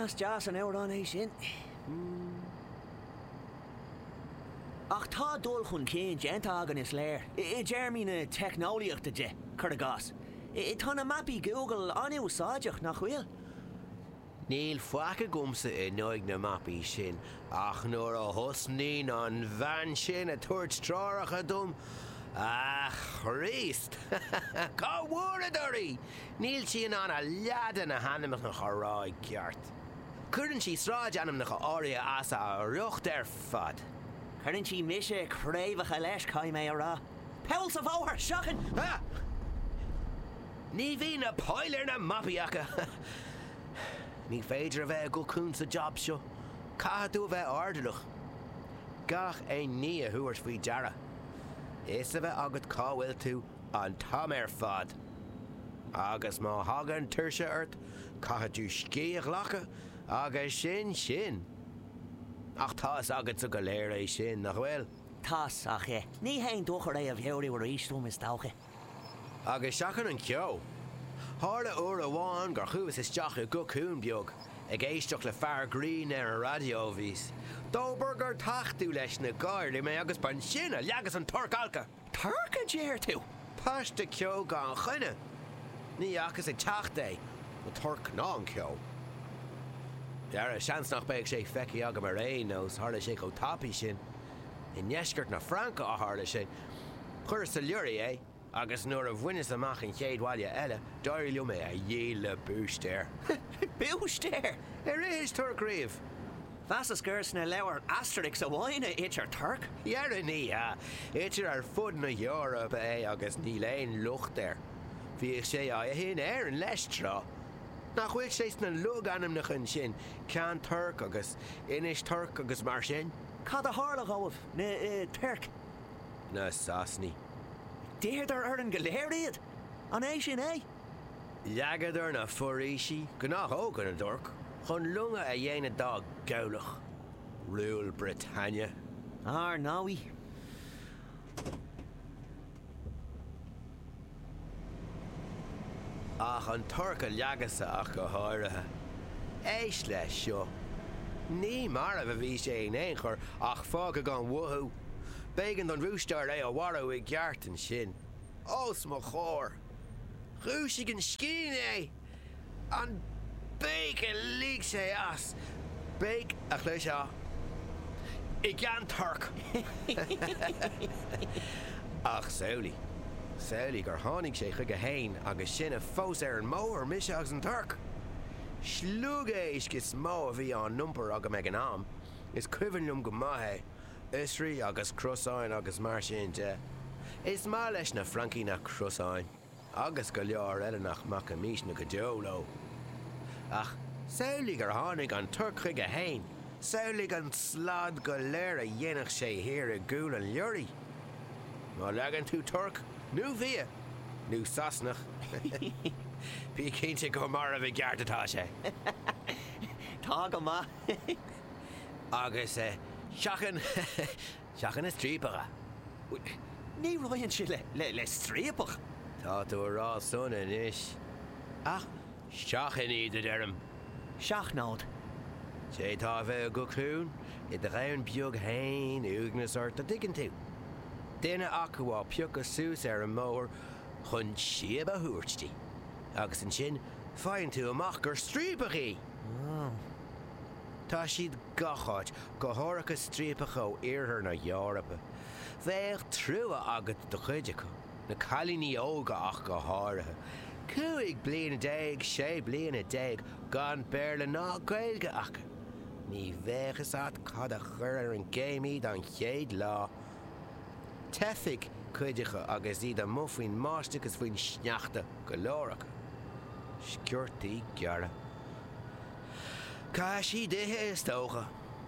Is deas an amhrán é sin. Ach tá dul chun cinn déanta againn is léir, i dtéarmaí na teicneolaíochta de, cuir i gcás. Tá na mapaí Google an-úsáideach, nach bhfuil? Níl faic agamsa in aghaidh na mapaí sin, ach nuair a thosnaíonn an bhean sin ag tabhairt treoracha dom, a Chríost! Cá bhfuaireadar í? Níl sí in ann a leath de na hainmneacha a rá i gceart. Cuireann sí sráidainmneacha áirithe as a riocht ar fad. Cuireann sí mise craobhacha leis, caithfidh mé a rá. Poll sa bhóthar, seachain! Ah! Ní bhíonn na poill ar na mapaí acu! Ní féidir a bheith i gcocún sa jab seo. Caithfidh tú a bheith airdeallach. Gach aon ní a thabhairt faoi deara. Fhios a bheith agat cá bhfuil tú an t-am ar fad. Agus má thagann tuirse ort, caithfidh tú scíth a ghlacadh agus sin sin. Ach tá fhios agatsa go léir é sin, nach bhfuil? Tá's, ach ní haon dochar é a mheabhrú arís dom, is dócha. Agus seachain an ceo. Tharla uair amháin gur chuas isteach i gcocún beag. Ag éisteacht le fear grinn ar an raidió a bhíos. Dóbair gur tachtadh leis na gáirí mé agus b'ansin a leagas an torc alctha! Torc a deir tú? Paiste ceo gan choinne! Ní fhacas ag teacht é, an torc ná an ceo. Dhera, seans nach mbeadh sé feicthe agam ar aon nós, tharla sé chomh tapaidh sin. I ndeisceart na Fraince a tharla sé. Chuireas sa leoraí é, agus nuair a bhaineas amach an chéad bhaile eile, d'éirigh liom é a dhíol le búistéir. Búistéir? Ar ithis torc riamh? Mheasas gur sna leabhair Asterix amháin a itear torc. Dhera ní hea. Itear ar fud na hEorpa é agus níl aon locht air. Bhíodh sé á ithe in Éirinn leis tráth. Nach bhfuil sé sna logainmneacha ansin, Ceann Toirc agus Inis Toirc agus mar sin? Cad a tharla dhóibh, na toirc? Na Sasanaigh. D'itheadar orainn go léir iad! An é sin é? Leagadar na foraoisí, gnáthóga na dtorc, chun longa a dhéanamh dá gcabhlach. Rule Britannia. Ar ndóigh. Ach an torc a leagas-sa ach go háirithe. Éist leis seo. Ní marbh a bhí sé in aon chor ach fágtha gan mhothú. B'éigean don bhúistéir é a mharú i gceart ansin. Os mo chomhair. Dhúisigh an scian é! An béic a lig sé as! Béic a chloisfeá i gCeann Toirc! Ach samhlaigh, samhlaigh gur tháinig sé chuige fhéin agus sinne fós ar an mbóthar, mise agus an torc! Sliogéisc is mó a bhí á n-iompar agam ag an am, is cuimhin liom go maith é, oisrí agus crosáin agus mar sin de. Is maith leis na Francaigh na crosáin. agus go leor eile nach mbacfaimísne go deo leo. Ach samhlaigh gur tháinig an torc chuige fhéin, samhlaigh an slad go léir a dhéanfadh sé thiar i gcúl an leoraí. Má leagann tú torc, nó fia, nó Sasanach, bí cinnte gur marbh i gceart atá sé. Tá go maith. Agus seachain. Seachain na striapacha. Ní raghainnse le le striapach. Tá tú a rá san anois. Ach seachain iad, a deirim. Seachnód. D'fhéadfá a bheith i gcocún, i do dhomhan beag fhéin, uaigneas ort, a' dtuigeann tú? Duine acu á piocadh suas ar an mbóthar chun síob a thabhairt di. Agus ansin faigheann tú amach gur striapach í! Tá siad gach áit, go háirithe striapacha ó iarthar na hEorpa. Bheadh trua agat do chuid acu, na cailíní óga ach go háirithe. 15 bliana, 16 bliana, gan Béarla ná Gaeilge acu. Ní bheadh fhios a't cad a chuir ar an gcéim iad an chéad lá. Teifigh cuid acu agus iad amuigh faoin mbáisteach is faoin sneachta, go leor acu. Sciortaí gearra. Caithfidh siad ithe, is dócha,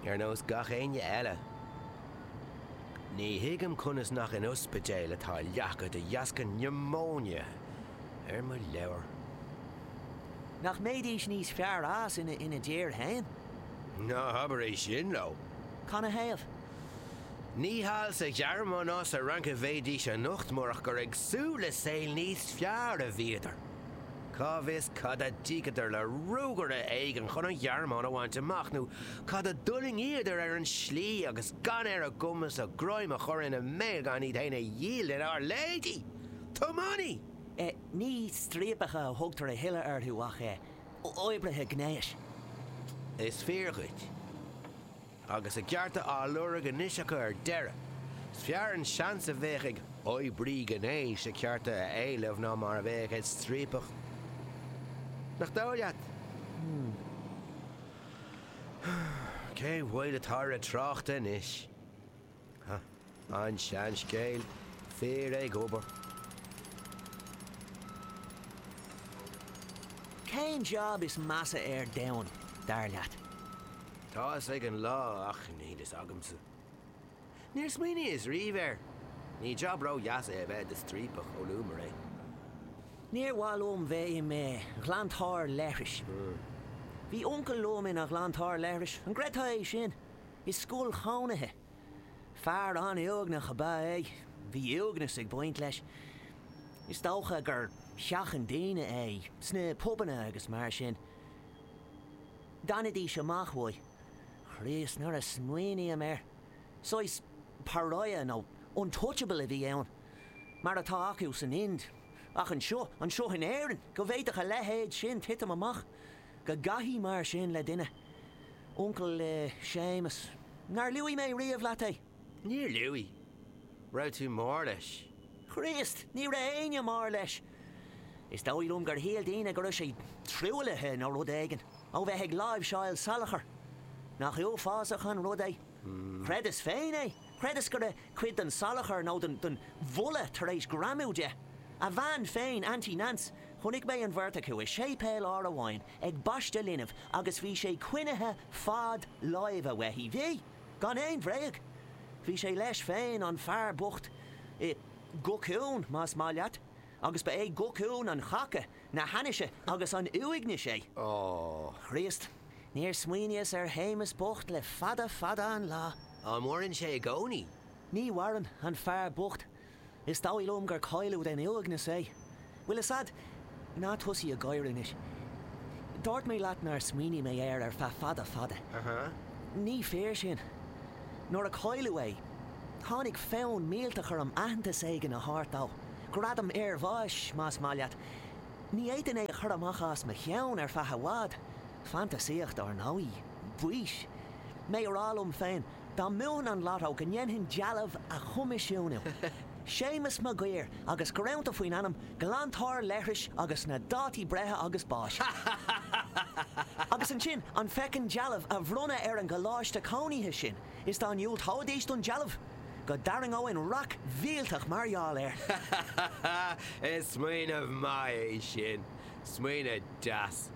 ar nós gach éinne eile. Ní thuigim conas nach in ospidéal atá leath acu de dheasca niomóine ar mo leabhar. Nach mbeidís níos fearr as ina ina dtír féin? Ná habair é sin leo. Canathaobh? Ní thall sa Ghearmáin ná sa Fhrainc a bheidís anocht murach gur ag súil le saol níos fearr a bhíodar. Cá bhfios cad a d'íocadar le ruagaire éigin chun an Ghearmáin a bhaint amach, nó cad a d'fhulaingíodar ar an slí agus gan ar a gcumas a greim a chur ina mbéal gan iad fhéin a dhíol lenár leithéidí! Tiománaí! Ní striapacha a thugtar a thuilleadh orthu ach oibrithe gnéis. Is fíor dhuit. Agus a gcearta á lorg anois acu ar deireadh, is fearr an seans a bheadh ag oibrí gnéis a cearta a éileamh ná mar a bheadh ag striapach. Nach dóigh leat? Cén mhoill atá ar an trácht anois? An seanscéal, fir ag obair. Cén jab is measa ar domhan, dar leat? Tá fhios ag an lá ach níl fhios agamsa. Níor smaoiníos riamh air. Ní jab ró-dheas é a bheith i do striapach, ó luamar é. Níor mhaith liom bheith i mo ghlantóir leithris. Bhí uncail liom ina ghlantóir leithris, an gcreidfeá é sin? I scoil chónaithe. Fear an-uaigneach ab ea é. Bhí uaigneas ag baint leis. Is dócha gur sheachain daoine é, sna pubanna agus mar sin. D'fhanaidís amach uaidh. Chríost, nuair a smaoiním air. Saghas pariah nó untouchable a bhí ann. Mar atá acu san Ind. Ach anseo, anseo in Éirinn, go bhféadfadh a leithéid sin titim amach. Go gcaithfí mar sin le duine. Uncail Séamus. Nár luaigh mé riamh leat é? Níor luaigh. Raibh tú mór leis? Chríost, ní raibh éinne mór leis. Is dóigh liom gur shíl daoine go raibh sé truaillithe nó rud éigin, ó bheith ag láimhseáil salachar. Nach uafásach an rud é? Chreideas féin é. Chreideas go raibh cuid den salachar nó den bholadh tar éis greamú de. A bhean féin, Auntie Nance, chonaic mé an bheirt acu i séipéal uair amháin ag baisteadh linbh agus bhí sé coinnithe fad láimhe uaithi. Bhí! Gan aon bhréag! Bhí sé leis féin, an fear bocht, i gcocún, más maith leat, agus ba é cocún an chaca, na hainnise agus an uaignis é. Ó. Chríost, níor smaoiníos ar Shéamus bocht le fada fada an lá. An maireann sé i gcónaí? Ní mhaireann, an fear bocht. Is dóigh liom gur cailleadh den uaigneas é. Bhfuil fhios a'd, ná tosaigh ag gáire anois. Dúirt mé leat nár smaoinigh mé air ar feadh fada fada. Ní fíor sin. Nuair a cailleadh é, tháinig fonn millteach orm aitheantas éigin a thabhairt dó, gradam iarbháis, más maith leat. Ní fhéadfainn é a chur amach as mo cheann ar feadh i bhfad. Fantasaíocht, ar ndóigh. Baois. Mé a rá liom féin, Dá mbuafainn an lotto go ndéanfainn dealbh a choimisiúnú. Séamus Mac Guidhir agus greanta faoin ainm glantóir leithris agus na dátaí breithe agus báis. Agus ansin an feckin dealbh a bhronnadh ar an gcoláiste cónaithe sin is dá ndiúltóidís don dealbh, go dtarraingeoinn raic mhillteach mar gheall air. Is smaoineamh maith é sin. Smaoineamh deas.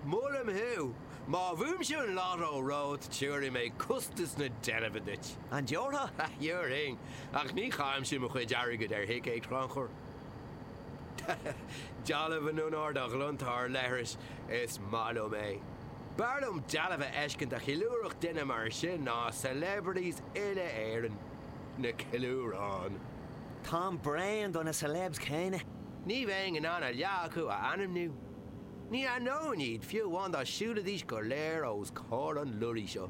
Molaim thú! Má bhuaimse an lotto romhat tabharfaidh mé costas na deilbhe duit. An dtabharfá? Thabharfainn, ach ní chaithimse mo chuid airgid ar thicéid, a Chonchúir. Dealbh in onóir do ghlantóir leithris, is maith liom é. B'fhearr liom dealbh a fheiscint a cheiliúrfadh duine mar sin ná celebrities uile Éireann. Na ceiliúráin. Táim bréan do na celebs céanna. Ní bheinn in ann a leath acu a ainmniú. Ní aithneoinn iad, fiú amháin dá siúlfaidís go léir os comhair an lorry seo.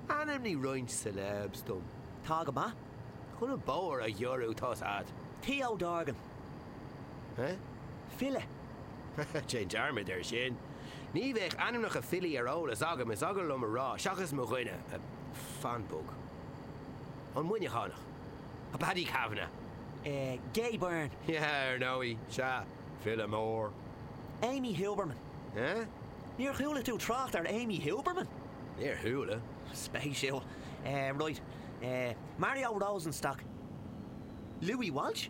Ainmnigh roinnt celebs dom. Tá go maith. Chun an bóthar a ghiorrú, tá's a'd. Theo Dorgan. Eh? File. Déan dearmad air sin. Ní bheadh ainmneacha filí ar eolas agam, is eagal liom a rá, seachas mo dhuine, fan bog. An Muineachánach. Paddy Kavanagh. Gay Byrne. Yeah, ar ndóigh, sea. File mór. Amy Huberman. Eh? Níor chuala tú trácht ar Amy Huberman? Níor chuala. Spéisiúil. Eh, right. Eh, Mario Rosenstock. Louis Walsh?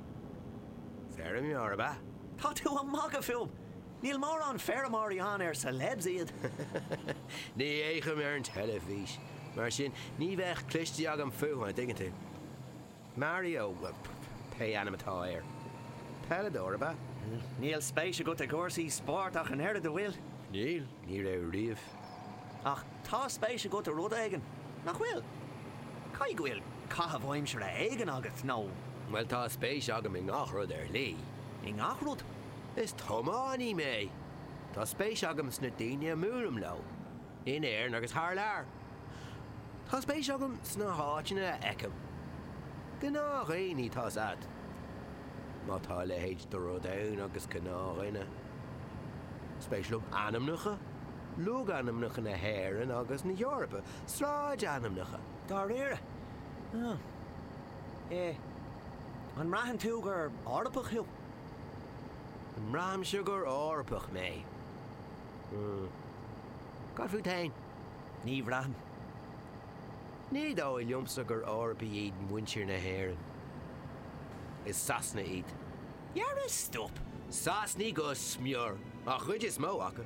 Feirmeoir, ab ea? Tá tú ag magadh fúm! Níl mórán feirmeoirí ann ar celebs iad. Ní fhéachaim ar an teilifís. Mar sin, ní bheadh cloiste agam fúthu, an dtuigeann tú. Mario, bhuel, pé ainm atá air. Peileadóir, ab ea? Níl spéis agat i gcúrsaí spóirt ach an oiread, an bhfuil? Níl, ní raibh riamh. Ach tá spéis agat i rud éigin, nach bhfuil? Caithfidh go bhfuil caitheamh aimsire éigin agat, nó. Bhuel, tá spéis agam i ngach rud ar shlí. I ngach rud? Is tiománaí mé. Tá spéis agam sna daoine a mbuailim leo, in Éirinn agus thar lear. Tá spéis agam sna háiteanna a fheicim. Gnáthdhaoine, tá's a'd. Má tá a leithéid de rud ann agus gnáthdhuine. Spéis liom ainmneacha, logainmneacha na hÉireann agus na hEorpa, sráidainmneacha. Dáiríre? Ah. Eh. An mbraitheann tú gur Eorpach thú? An mbraithimse gur Eorpach mé? Hmm. Cad fút fhéin? Ní bhraithim. Ní dóigh liomsa gur Eorpaigh iad muintir na hÉireann. Is Sasanaigh iad. Dhera, stop! Sasanaigh go smior, an chuid is mó acu.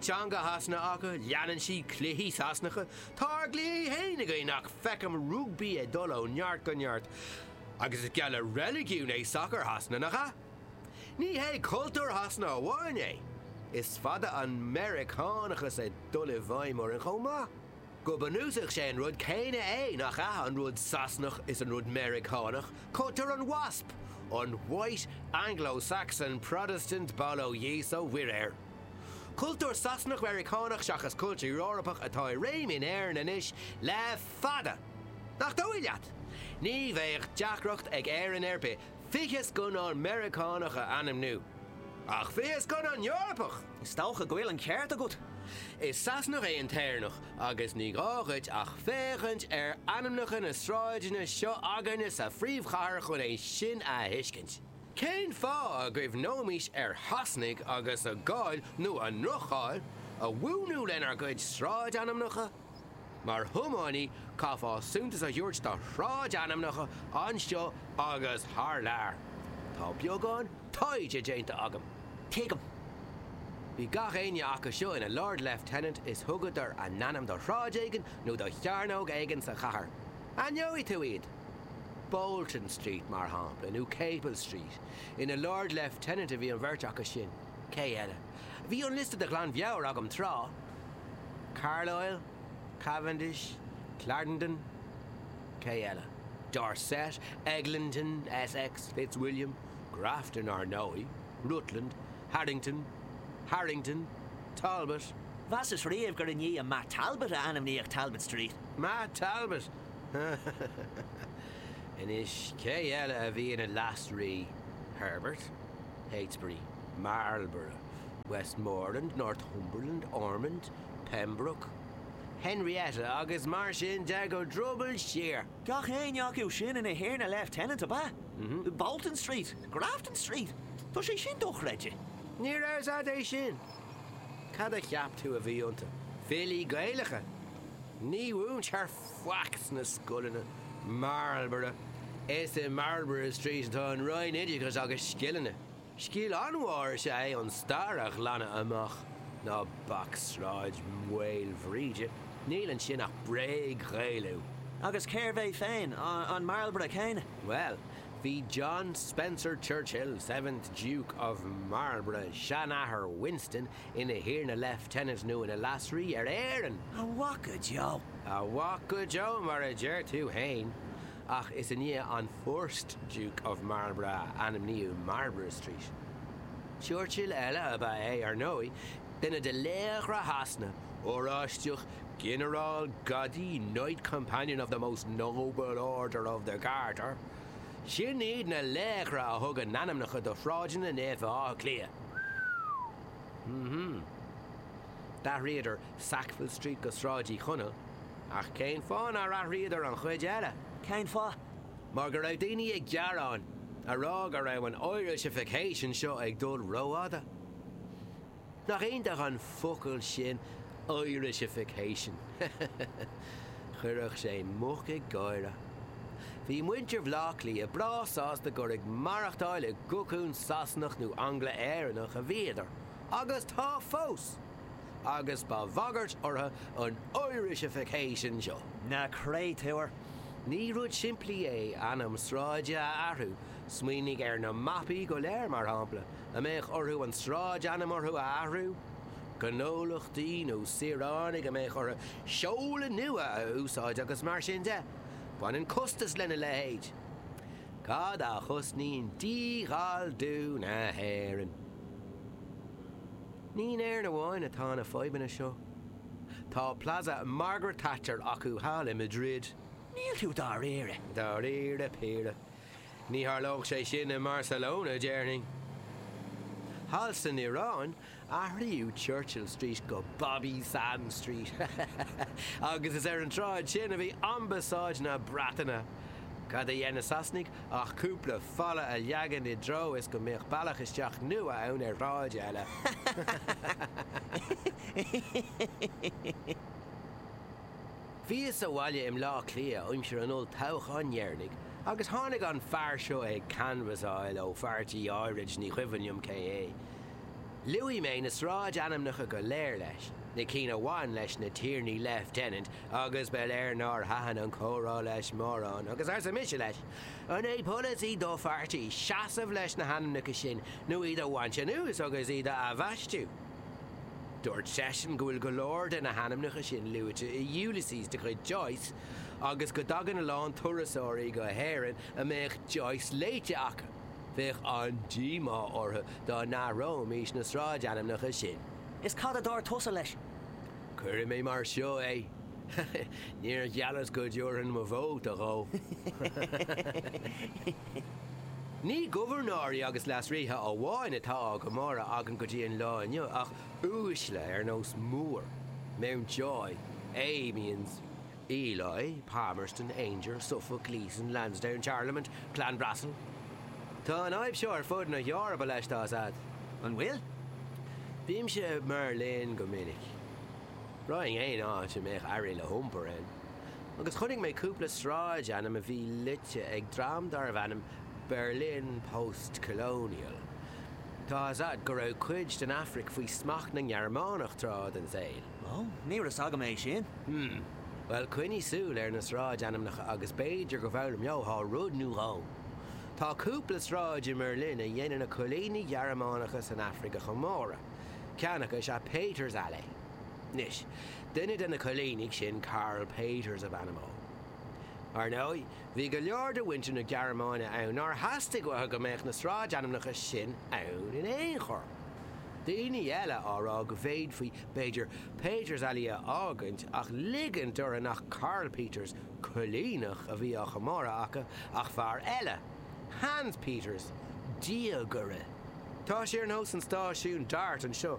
Teanga Shasana acu, leanann siad cluichí Sasanacha, tá ár gcluichí fhéin againn ach feicim rugbaí ag dul ó neart go neart. Agus is geall le reiligiún é sacar Shasana, nach ea? Ní hé cultúr Shasana amháin é, is fada an Meiriceánachas ag dul i bhfeidhm orainn chomh maith. Go bunúsach sé an rud céanna é, nach ea, an rud Sasanach is an rud Meiriceánach, cultúr an WASP, an White Anglo-Saxon Protestant bail ó Dhia 's ó Mhuire air. Cultúr Sasanach-Meiriceánach seachas cultúr Eorpach atá i réim in Éirinn anois le fada! Nach dóigh leat? Ní bheadh deacracht ag Éirinn ar bith 20 scannán Meiriceánach a ainmniú. Ach 20 scannán Eorpach! Is dócha go bhfuil an ceart agat. Is Sasanach é an tÉireannach agus ní gá dhuit ach féachaint ar ainmneacha na sráideanna seo againne sa phríomhchathair chun é sin a thuiscint. Cén fáth a gcuimhneoimis ar Shasanaigh agus a gcáil, nó a ndroch-cháil, a mhúnlú lenár gcuid sráidainmneacha? Mar thiománaí, caithfeá suntas a thabhairt do shráidainmneacha anseo agus thar lear. Tá beagán taighde déanta agam. Tuigim. Bhí gach éinne acu seo ina Lord Lieutenant is thugadar a n-ainm do shráid éigin nó do chearnóg éigin sa chathair. Aithneoidh tú iad. Bolton Street, mar shampla, nó Capel Street. Ina Lord Lieutenant a bhí an bheirt acu sin. Cé eile? Bhí an liosta de ghlanmheabhair agam tráth. Carlisle, Cavendish, Clarendon, cé eile? Dorset, Eglinton, Essex, Fitzwilliam, Grafton, ar ndóigh, Rutland, Haddington, Harrington, Talbot. Mheasas riamh gur i ndiaidh Matt Talbot a ainmníodh Talbot Street. Matt Talbot! Anois, cé eile a bhí ina Leas-Rí? Herbert, Heytesbury, Marlborough, Westmoreland, Northumberland, Ormond, Pembroke, Henrietta agus mar sin de go druball siar. Gach éinne acu sin ina Thiarna Lieutenant, ab ea? Bolton Street, Grafton Street, tá sé sin dochreidte. Ní raibh 's a'd é sin. Cad a cheap tú a bhí iontu? Filí Gaelacha? Ní mhúintear faic sna scoileanna. Marlborough. Is i Marlborough Street atá an Roinn Oideachais agus Scileanna. Scil an-mhór is ea é an stair a ghlanadh amach. Ná bac Sráid Mhaoilbhríde, níl ansin ach bréag-Ghaelú. Agus cérbh é féin, an Marlborough céanna? Bhuel, bhí John Spencer Churchill, Seventh Duke of Marlborough, seanathair Winston, ina Thiarna Lieutenant nó ina Leas-Rí ar Éirinn. A mhac go deo! A mhac go deo, mar a deir tú fhéin. Ach is i ndiaidh an First Duke of Marlborough a ainmníodh Marlborough Street. Churchill eile ab ea é, ar ndóigh, duine de laochra Shasana, Oráisteach, Ginearál, Gadaí, Knight Companion of the Most Noble Order of the Garter. Sin iad na laochra a thug a n-ainmneacha do shráideanna naofa Átha Cliath. Mm-hmm. D'athraíodar Sackville Street go Sráid Uí Chonaill. Ach cén fáth nár athraíodar an chuid eile? Cén fáth? Mar go raibh daoine ag gearán, a rá go raibh an Irishification seo ag dul rófhada. Nach iontach an focal sin Irishification? Chuirfeadh sé muc ag gáire. Bhí muintir Bhaile Átha Cliath breá sásta gur ag maireachtáil i gcocún Sasanach nó Angla-Éireannach a bhíodar, agus tá fós! agus ba bhagairt orthu an Irishification seo. Na créatúir! Ní rud simplí é ainm sráide a athrú, smaoinigh ar na mapaí go léir, mar shampla, a mbeadh orthu an sráidainm orthu a athrú, gnólachtaí nó saoránaigh a mbeadh orthu seoladh nua a úsáid agus mar sin de. Baineann costas lena leithéid. Cad a chosnaíonn dí-Ghalldú na hÉireann? Ní in Éirinn amháin atá na fadhbanna seo. Tá Plaza Margaret Thatcher acu thall i Madrid. Níl tú dáiríre. Dáiríre píre. Ní tharlódh sé sin i mBarcelona, déarfainn. Thall san Iaráin, athraíodh Churchill Street go Bobby Sands Street agus is ar an tsráid sin a bhí Ambasáid na Breataine. Cad a dhein na Sasanaigh ach cúpla falla a leagan i dtreo is go mbeadh bealach isteach nua ann ar shráid eile. Bhíos sa bhaile i mBleá Cliath aimsir an olltoghcháin dheireanaigh agus tháinig an fear seo ag canbhasáil ó pháirtí áirid, ní cuimhin liom cé é. Luaigh mé na sráidainmneacha go léir leis, na cinn a bhain leis na Tiarnaí Lieutenant agus ba léir nár thaitin an comhrá leis mórán agus arsa mise leis, An é polasaí do pháirtí seasamh leis na hainmneacha sin nó iad a bhaint anuas agus iad a athbhaisteadh? Dúirt seisean go bhfuil go leor de na hainmneacha sin luaite i Ulysses de chuid Joyce agus go dtagann a lán turasóirí go hÉirinn a mbeadh Joyce léite acu. Bheadh an-díomá orthu dá n-athróimis na sráidainmneacha sin. Is cad a dúirt tusa leis? Cuirfidh mé mar seo é, níor gheallas go dtabharfainn mo vóta dhó. Ní gobharnóirí agus leasríthe amháin atá á gcomóradh againn go dtí an lá inniu ach uaisle ar nós Moore, Mountjoy, Amiens, Ely, Palmerston, Aungier, Suffolk, Gleeson, Lansdowne, Charlemont, Clanbrassil. Tá an fhadhb seo ar fud na hEorpa leis, tá 'fhios a'd. An bhfuil? Bímse i mBeirlin go minic. Raghainn aon áit a mbeadh earraí le hiompar ann. Agus chonaic mé cúpla sráidainm a bhí loite ag dream darbh ainm Berlin Post Colonial. Tá 'fhios a'd go raibh cuid den Afraic faoi smacht na nGearmánach tráth den saol. Ó, ní raibh 'fhios agam é sin. Hmm. Bhuel, coinnigh súil ar na sráidainmneacha agus b'fhéidir go bhfoghlaimeofá rud nó dhó. Tá cúpla sráid i mBerlin a dhéanann na coilínigh Ghearmánacha san Afraic a chomóradh. Ceann acu is ea Peters Allee. Anois, duine de na coilínigh sin, Carl Peters ab ainm dhó. Ar ndóigh, bhí go leor de mhuintir na Gearmáine ann nár theastaigh uathu go mbeadh na sráidainmneacha sin ann in aon chor. Daoine eile á rá go bhféadfaí, b'fhéidir, Peters Allee a fhágaint ach ligint orthu nach Carl Peters, coilíneach, a bhí á chomóradh acu ach fear eile, Hans Peters, diagaire. Tá sé ar nós an stáisiún DART anseo.